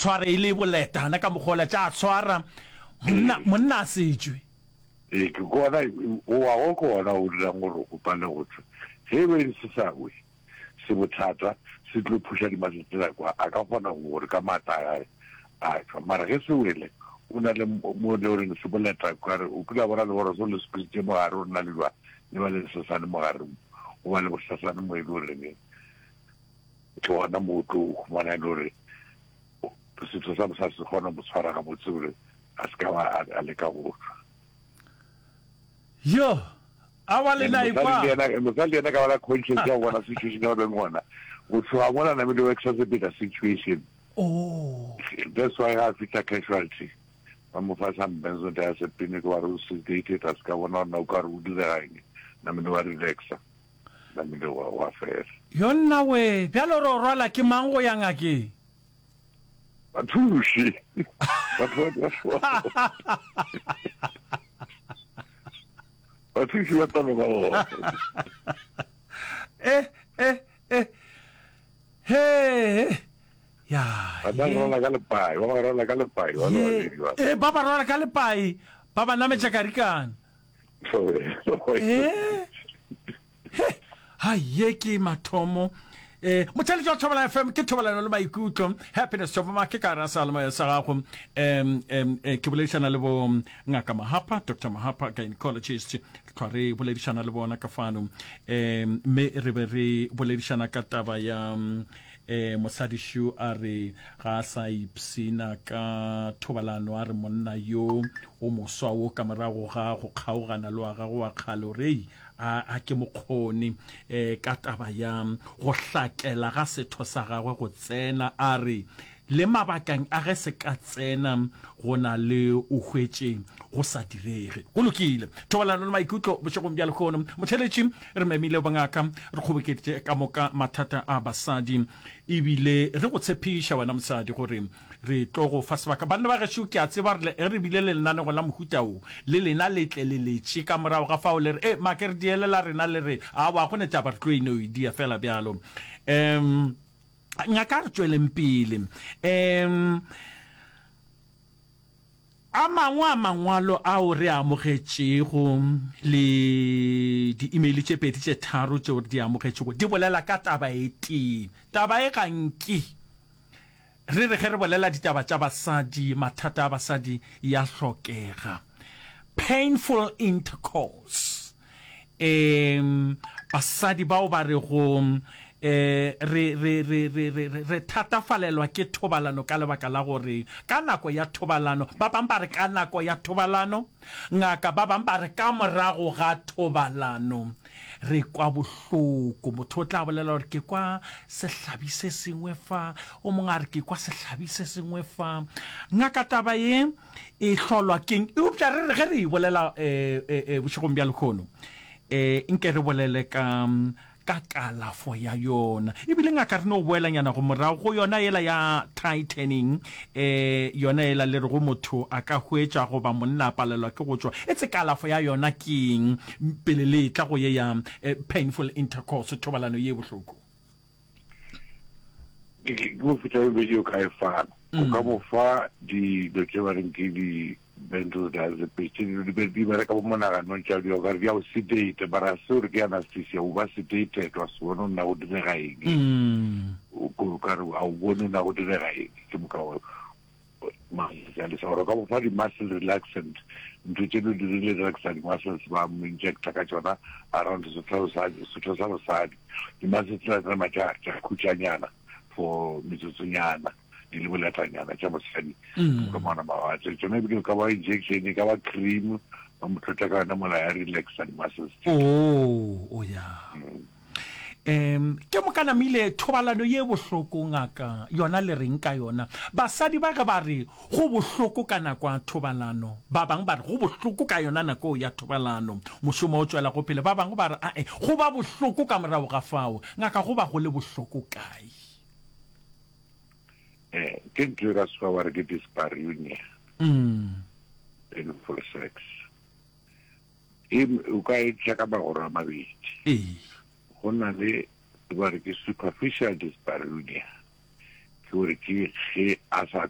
tshware e le boletana ka mokgola tša tshwara monna monna a setšwe. Ee, ke gona o wa go ke gona o dirang gore o pale go tšwa. Ge e be se sa we se bothata se tlo phuša dimasese tsela kwa a ka kgona gore ka maatla a gage a tšwa. Mara ge se wele o na le mo le goreng se boleta kare o kile wa bona leboroso le squeezitše mo gare o na le jwa le ba le sesane mo gare mo o ba le bosesane mo e le goreng ke gona mo o tlo humana e le gore setho sa mosadi se kgona mo tshwara gabotse gore a se ka ba a leka go tšwa. Yo, a wa lena e kwa. Mosadi le yena ka bala conscience ya go bona situation ya go beng gona. Go tloga mola namile o exacerbate situation. Oh. That's why ga fihla casualty ba mo fa some benzodiazepine ke ba re o sedated a se ka bona gore na o ka re o direga eng namile wa relaxa namile wa wa fela. Yo nna we, bjalo re o rwala ke mang go ya ngakeng? Bathuši. Batho ba Bathuši ba tla ba bona. Eh eh eh. He. Ya. Ba tla rwala ka lepai, ba ba rwala ka lepai ba ba. Eh ba ba rwala ka lepai, ba ba nametša karikana. Eh. He, hai, ye ke mathomo. Eh, motheletši wa Thobela FM ke thobalano le maikutlo. Happiness Chopama ke ka ra seyalemoya sa gago. Um, um, eh, ke boledišana le bo ngaka Mahapa, Dr. Mahapa, gynecologist. Tlhwa re boledišana le bona ka fano. Um, mme re be re boledišana ka taba ya um, mosadišu a re ga a sa ipshina ka thobalano a re monna yo o moswa wo ka morago ga go kgaogana le wa gagwe wa kgale o re ei A, a ke mokgoni e, ka taba ya go hlakela ga setho sa gagwe go tsena, a re, Le mabakeng a ge se ka tsena go na le o hwetše go sa direge. Go lokile. Thobalano le maikutlo bošegong bja lehono. Motheeletši, re memile bongaka, re kgobokeditše ka moka mathata a basadi, ebile re go tshepiša wena mosadi gore Re tlo go fa sebaka. Banna ba gešo, ke a tseba re, ge re bile le lenanego la mohuta wo, le lena le tle le letše ka morago ga fao le re, E, make re diele la rena, le re, Aowa, go ne taba, re tlo e no e dia feela bjalo. Um, ngaka, a re tšweleng pele. Um, a mangwe a mangwalo ao re a amogetšego le di-email tše pedi tše tharo tšeo re di amogetšego di bolela ka taba e tee. Taba e ga nke. Re re ge re bolela ditaba tša basadi, mathata a basadi ya hlokega. Painful intercourse. Um, basadi bao ba rego um re, re, re, re, re, re, re thatafalelwa ke thobalano ka lebaka la gore ka nako ya thobalano, ba bang ba re ka nako ya thobalano, ngaka, ba bang ba re ka morago ga thobalano. Re kwa bohloko. Motho o tla bolela gore ke kwa sehlabi se sengwe fa, o mongwe a re ke kwa sehlabi se sengwe fa. Ngaka taba ye e hlolwa keng? Eupša re re ge re e bolela um bošegong bja lehono, um nke re bolele ka ka kalafo ya yona. Ebile ngaka re no boelanyana go morago go yona yela ya tightening, um yona yela le rego motho a ka hwetša goba monna a palelwa ke go tšwa. Etse kalafo ya yona ke eng pele le etla go ye ya painful intercourse, thobalano ye bohloko? Ke mofuta e mebedi o ka e fana. O ka mo fa dilo tše ba reng ke di benzodiazepines tše di be di bereka bo monaganong tša di okare di a o sedate mara se gore ke anesthesia o ba sedated wa se bone o nna go direga eng mm. o kare a o bone o nna go direga eng ke moka malesa gore ka mo fa di-muscle relaxant ntho tše di dirile relaxa di-muscles ba mo injecta ka tšona around setho sa bosadi di-muscles tsela tsa tša khutšanyana for metsotsonyana di le boletanyana tša mosadi mm. ka mona mawatle tsone ebile ka ba injection e ka ba cream ba mo tlotla ka yona mola ya relaxa di-muscles oh, oh ya mm. um ke moka namile thobalano ye bohloko ngaka yona le reng ka yona basadi ba ge ba re go bohloko ka nako ya thobalano ba bangwe ba re go bohloko ka yona nako ya thobalano mošomo o tšwela go pele ba bangwe ba re ae go ba bohloko ka morago ga fao ngaka go ba go le bohloko kae Eh, ke ntho e ka sekgowa ba re ke dyspareunia mm. painful sex e o ka e tša ka magoro a mabedi ee. go na le ba re ke superficial dyspareunia ke gore ke ge a sa.